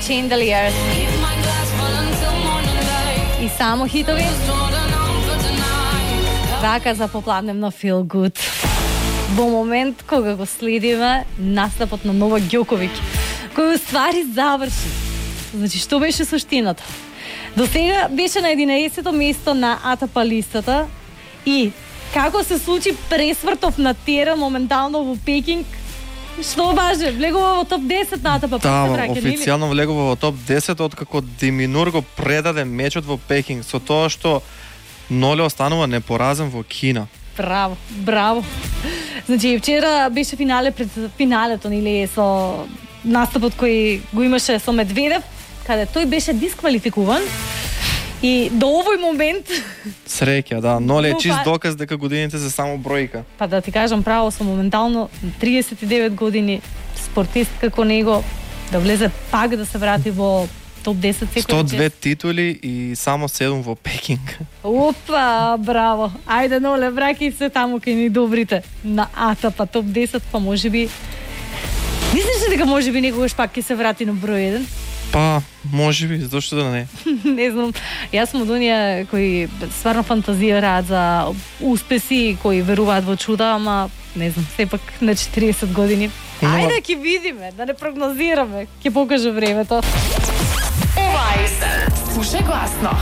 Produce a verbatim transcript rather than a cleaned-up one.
Chandeliers. И само хитови. Рака за попладневно Feel Good. Во момент кога го следиме настапот на Нова Ѓоковиќ, кој уствари заврши. Значи, што беше суштината? До сега беше на единаесетто место на А Т П листата и како се случи пресвртов на терен моментално во Пекинг, што баже, влегува во топ десет на А Т П. Да, официјално влегува во топ десет откако Деминур го предаде мечот во Пекинг со тоа што Ноле останува непоразен во Кина. Браво, браво. Значи, вчера беше финале пред финалето, нели, со настапот кој го имаше со Медведев, каде тој беше дисквалификуван. И до овој момент... Среќа, да. Ноле е чист доказ дека годините се само бројка. Па да ти кажам право, со моментално триесет и девет години спортист како него да влезе пак да се врати во топ десет секој. сто две титули и само седум во Пекинг. Опа, браво. Ајде, Ноле, враќај се таму кај ни добрите на А Т П топ десет, па можеби... Мислиш ли дека можеби некогаш пак ќе се врати на број еден? Па, можеби, зашто да не. Не знам. Јас сум од оние кои стварно фантазираат за успеси, кои веруваат во чуда, ама не знам, сепак на четириесет години. Ајде ќе видиме, да не прогнозираме, ќе покаже времето. Ова е Слушај гласно.